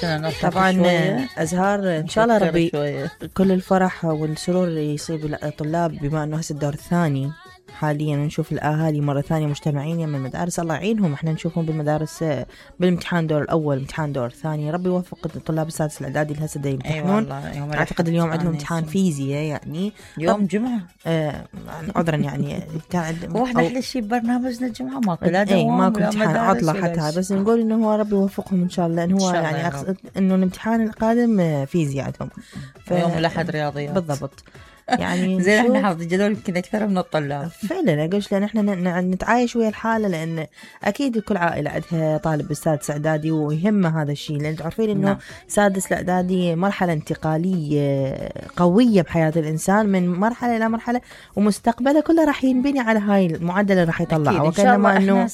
شنو نضحك طبعا شوية؟ أزهار إن شاء الله نفكر ربي شوية. كل الفرح والسرور يصيب الطلاب، بما أنه هسه الدور الثاني حاليا، نشوف الأهالي مرة ثانية مجتمعين من المدارس، الله يعينهم. احنا نشوفهم بالمدارس بالامتحان دور الأول، امتحان دور الثاني. ربي يوفق الطلاب السادس الإعدادي اللي هسه دا يمتحنون. أعتقد اليوم عندهم امتحان فيزياء، يعني يوم جمعة عذرا يعني واحنا احلى شيء ببرنامجنا الجمعة ماكو لا اي دوام ماكو ولا امتحان مدارس عطلة ولا حتى، شيء. بس نقول انه هو ربي يوفقهم ان شاء الله، لان هو إن شاء الله يعني يا اقصد انه الامتحان القادم فيزياء عندهم يوم الأحد رياضيات بالضبط. يعني زين احنا نشوف حافظ الجدول يمكن اكثر من الطلاب فعلا. اقولش لان احنا نتعايش ويا الحاله، لان اكيد كل عائله عندها طالب بالسادس اعدادي ويهمه هذا الشيء، لان تعرفين انه نعم. سادس الاعدادي مرحله انتقاليه قويه بحياه الانسان، من مرحله الى مرحله، ومستقبله كله راح ينبني على هاي المعدل اللي راح يطلعه. وكانما انه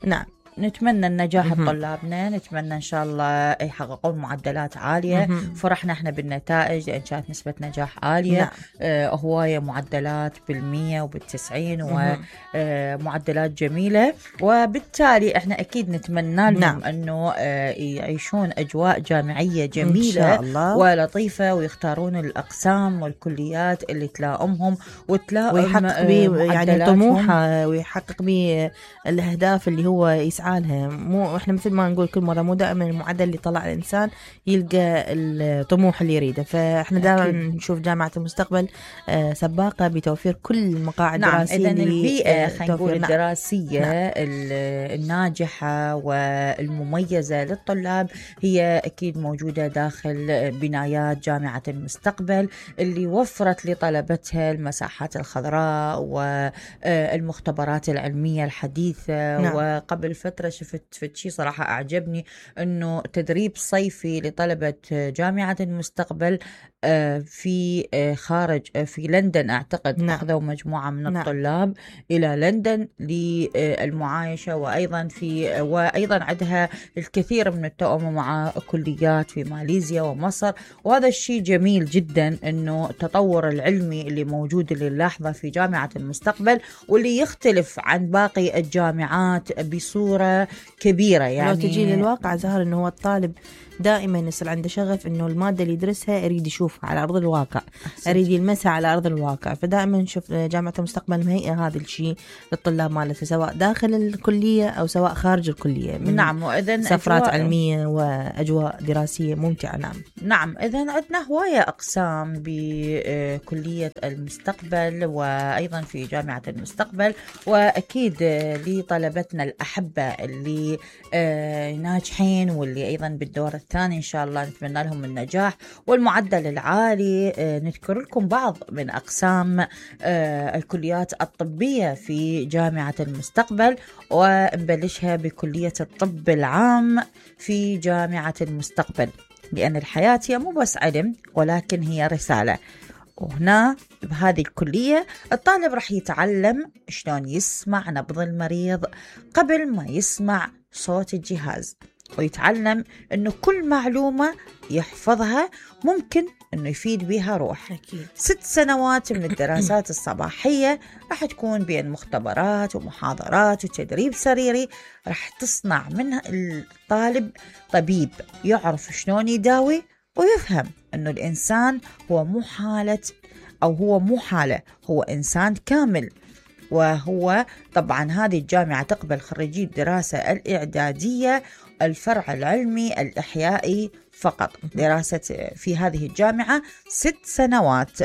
نعم نتمنى النجاح لطلابنا، نتمنى إن شاء الله يحققون معدلات عالية. فرحنا احنا بالنتائج لأن كانت نسبة نجاح عالية. نعم. هواية معدلات بالمية وبالتسعين ومعدلات جميلة، وبالتالي احنا أكيد نتمنى لهم نعم. أنه يعيشون أجواء جامعية جميلة إن شاء الله. ولطيفة، ويختارون الأقسام والكليات اللي تلائمهم وتلائم ويحقق يعني طموحه، ويحقق به الأهداف اللي هو يسعى لها. مو احنا مثل ما نقول كل مره، مو دائما المعدل اللي طلع الانسان يلقى الطموح اللي يريده. فاحنا دائما نشوف جامعه المستقبل سباقه بتوفير كل المقاعد الدراسيه. إذن البيئه خلينا نقول الدراسيه الناجحه والمميزه للطلاب هي اكيد موجوده داخل بنايات جامعه المستقبل، اللي وفرت لطلبتها المساحات الخضراء والمختبرات العلميه الحديثه. وقبل فترة شفت شيء صراحة أعجبني، أنه تدريب صيفي لطلبة جامعة المستقبل في خارج في لندن أعتقد. أخذوا مجموعة من الطلاب إلى لندن للمعايشة، وأيضا عندها الكثير من التوأم مع كليات في ماليزيا ومصر. وهذا الشيء جميل جدا، أنه التطور العلمي اللي موجود اللي نلاحظه في جامعة المستقبل، واللي يختلف عن باقي الجامعات بصورة كبيرة. يعني لو تجي للواقع زهر، انه هو الطالب دائما يصير عنده شغف انه الماده اللي يدرسها يريد يشوفها على ارض الواقع، يريد يلمسها على ارض الواقع. فدائما نشوف جامعه المستقبل مهيئه هذا الشيء للطلاب مالتها، سواء داخل الكليه او سواء خارج الكليه. نعم. واذا سفرات علميه واجواء دراسيه ممتعه. نعم. اذا عندنا هوايه اقسام بكليه المستقبل وايضا في جامعه المستقبل، واكيد لطلبتنا الاحبه اللي ناجحين واللي ايضا بالدور الثاني إن شاء الله نتمنى لهم النجاح والمعدل العالي. نذكر لكم بعض من أقسام الكليات الطبية في جامعة المستقبل، ونبلشها بكلية الطب العام في جامعة المستقبل، لأن الحياة هي مو بس علم ولكن هي رسالة. وهنا بهذه الكلية الطالب رح يتعلم شلون يسمع نبض المريض قبل ما يسمع صوت الجهاز، ويتعلم أنه كل معلومة يحفظها ممكن أنه يفيد بها روح. أكيد. 6 سنوات من الدراسات الصباحية راح تكون بين مختبرات ومحاضرات وتدريب سريري، راح تصنع منها الطالب طبيب يعرف شلون يداوي، ويفهم أنه الإنسان هو مو حالة أو هو مو حالة، هو إنسان كامل. وهو طبعا هذه الجامعة تقبل خريجي الدراسة الإعدادية الفرع العلمي الإحيائي فقط. دراسة في هذه الجامعة 6 سنوات.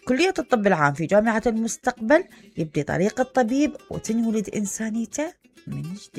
كلية الطب العام في جامعة المستقبل يبدي طريق الطبيب وتنولد إنسانيته من جديد.